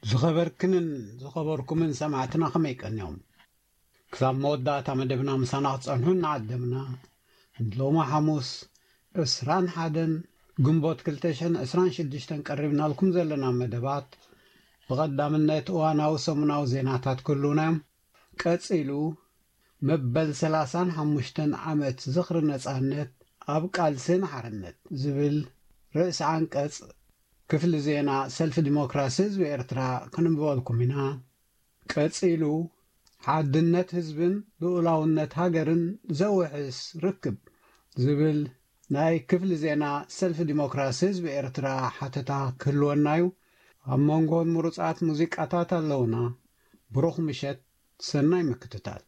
ዝኸበርክንን ዝኸበርኩምን ሰማዕትና ከመይ ቀንዮም? ክሳብ መወዳእታ መደብና ምሳና ክትጸንሑ እናዓደምና፣ ንሎሚ ሓሙስ ዕስራን ሓደን ግንቦት ክልተ ሽሕን ዕስራን ሽዱሽተን ቀሪብናልኩም ዘለና መደባት፣ ብቐዳምነት እዋናዊ ሰሙናዊ ዜናታት ክህልዉና እዮም። ቀጺሉ፣ መበል ሰላሳን ሓሙሽተን ዓመት ዝኽሪ ነጻነት ኣብ ቃልስን ሓርነት ዝብል ርእሲ ዓንቀጽ ክፍሊ ዜና ሰልፊ ዲሞክራሲ ህዝቢ ኤርትራ ክንብበልኩም ኢና። ቀጺሉ፣ ሓድነት ህዝብን ልኡላውነት ሃገርን ዘውሕስ ርክብ ዝብል ናይ ክፍሊ ዜና ሰልፊ ዲሞክራሲ ህዝቢ ኤርትራ ሓተታ ክህልወና እዩ። ኣብ መንጎን ምሩጻት ሙዚቃታት ኣለውና። ብሩኽ ምሸት፣ ሰናይ ምክትታል።